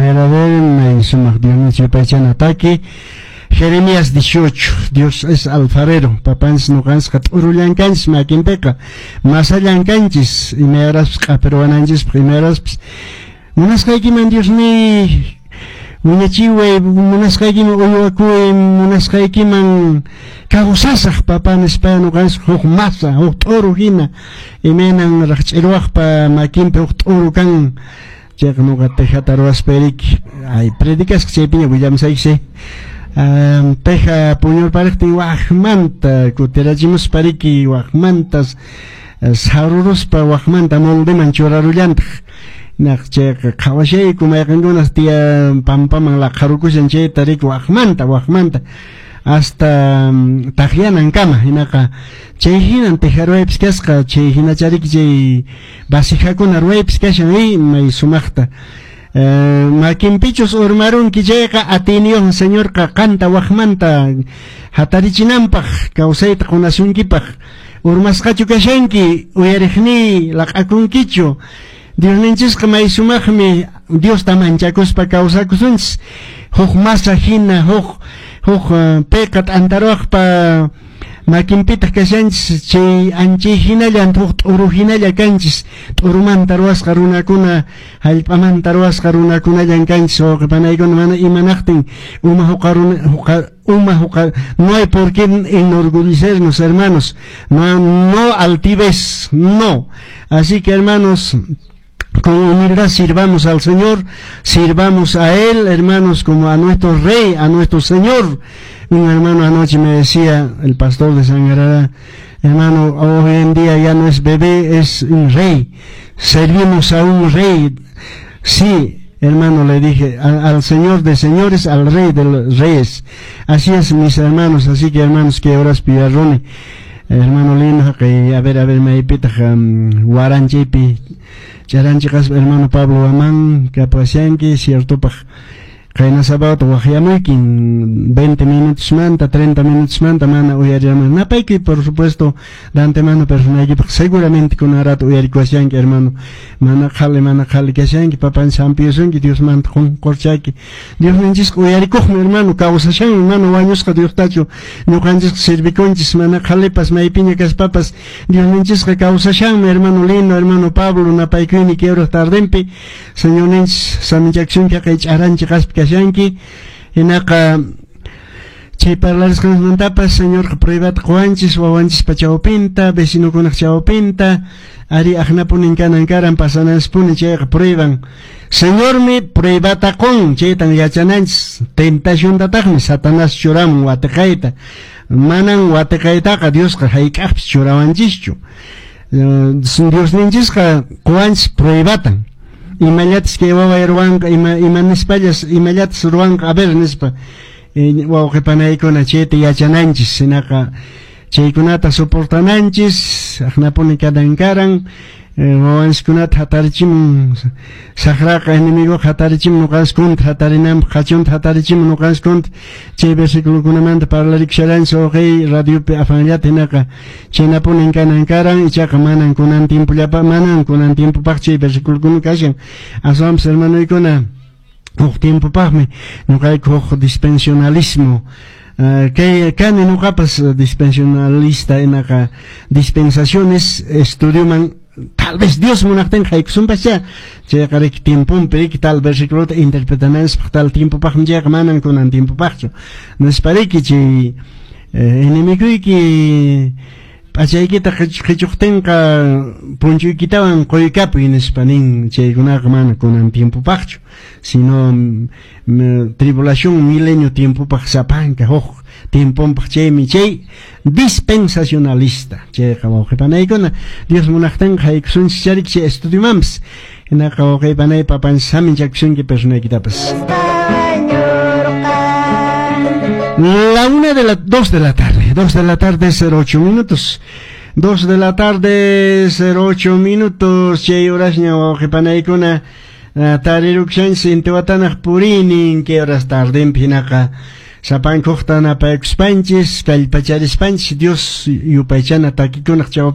A ver, may sumaq Dios yupaychana taki. Jeremías 18, Dios es alfarero, papanchis ñuqanchis t'urullankanchis makinpiqa, masallankanchis, imayraspas q'apiruwananchispaq, imayraspas munasqaykiman Dios ni wiñachiway, munasqaykiman uywakuy, munasqaykiman kawsasaq papá nispa ñuqanchis huk masa, huk t'uru hina, imaynan raqch'irwaqpa makinpi huk t'uru kan. Chayqa ñuqa tejata ruwaspa riki, ay predicasqa chaypiña willamsayki. Teja puñurpariqtin waqmanta kutirachimuspa riki, waqmantas saruruspa waqmanta moldeman churarullantaq. Naq chayqa qhawashayku mayqinkunas tiya pampaman laqharukushan chayta riki waqmanta waqmanta hasta taqyanankama. Hinaqa chay hinan teja ruwaypis kasqa, chay hinachariki chay vasijakuna ruwaypis kashan may sumaqta. Makinpichus urmarunki chayqa atiyniyuq Señorqa qanta waqmanta hatarichinanpaq, kawsayta qunasunkipaq. Urmasqachu kashanki, uyariqniy, laq'akunkichu? Diosninchisqa may sumaqmi, Diosta manchakuspa kawsakusunchis huk masa hina, huk huk payqa t'antaruwaqpa makinpitaq kashanchis, chay anchay hinallan huk t'uru hinalla kanchis, t'urumanta ruwasqa runakuna, hallp'amanta ruwasqa runakunallan kanchis, wawqi panaykuna. Mana imanaqtin uma huqa uma huqa, no hay por qué enorgullecernos, hermanos, no, no altivez, no. Así que, hermanos, con humildad sirvamos al Señor, sirvamos a Él, hermanos, como a nuestro Rey, a nuestro Señor. Un hermano anoche me decía, el pastor de Sangarará: "Hermano, hoy en día ya no es bebé, es un rey. Servimos a un rey". "Sí, hermano", le dije, "al Señor de señores, al Rey de los reyes". Así es, mis hermanos, así que, hermanos, que horas piarrone. Hermano lindo, que a ver, maypitaq waranchaypi charanchiqaspa hermano Pablo Guamán kapashanki, ciertopaq qayna sábado waqyamuykin 20 minutos manta, 30 minutos manta mana uyariman. Napayki, por supuesto, de antemano personaykipaq seguramente kuna rato uyarikuashanki, hermano. Mana qhali, mana qhali kashanki, papan sampiyusunki, Dios manta qunqurchaki. Diosninchisqa uyarikuqmi, hermano, kawsashanmi, mana wañusqa Diostachu ñuqanchisqa servikunchis, mana qhalipas maypiña kaspapas Diosninchisqa kawsashanmi, hermano lindo, hermano Pablo, napaykuyni kay tardenpi, Señorninchis saminchakusunki qay ch'aranchi qaspi kashanki. Hinaqa chay parlarisqanmantapas Señorqa pruebata quwanchis wawanchispa chawpinta, vecinokunaq chawpinta, ari aqnapunin kanan karan pasananchispuni chayqa prueban. Señormi pruebata qun, chaytan yachananchis, tentaciontataqmi Satanás churamun watiqayta. Manan watiqaytaqa Diosqa hayk'aqpis churawanchischu. Diosninchisqa quwanchis pruebatan. Imallatas kay waway ruwanqa, ima ima nispallas imallatas ruwanqa, a ver nispa, wawqi panaykuna, chayta yachananchis. Hinaqa chaykunata soportananchis, aqnapuni kanan karan, wawanchiskunata hatarichimun saqraqa, enemigoqa hatarichimun ñuqanchis contra hatarinanpaq, qachunta hatarichimun ñuqanchis contra. Chay versículokunamanta parlarikusharanchis wawqiy radiopi afanllata. Hinaqa chaynapunin kanan karan, ichaqa manan kunan tiempollapa, manan kunan tiempopaq chay versiculokuna kashan, aswanpas, hermanoykuna, huk tiempopaqmi. Ñuqayku huk dispensionalismo kay kani ñuqapas dispensionalista, hinaqa dispensaciones estudioman tal vez Dios munaqtinqa haykusunpaschá. Chayqa riki tiemponpi riki tal versículota interpretananchikpaq tal tiempopaqmi chayqa, manan kunan tiempopaqchu nispa riki. Chay enemiguyki p'achaykita qichuqtinqa punchuykitawan quykapuy nispa nin, chaykunaqa mana kunan tiempopaqchu, sino tribulación milenio tiempopaq, sapanka huk tiemponpaq. Chaymi chay dispensacionalista chayqa, wawqi panaykuna, Dios munaqtinqa haykusunchis charik chay estudiomanpas. Hinaqa wawqi panay, papanchis saminchakusunki personaykitapas. La una de la 2 de la tarde, 2 de la tarde 08 minutos. 2 de la tarde 08 minutos, chay horasña, wawqi panaykuna, tarirukshanchis intiwatanaq purinin kay horas tardenpi. Hinaqa sapankuqta napaykuspanchis, kallpacharispanchis, Dios yupaychana takikunaq chawpi.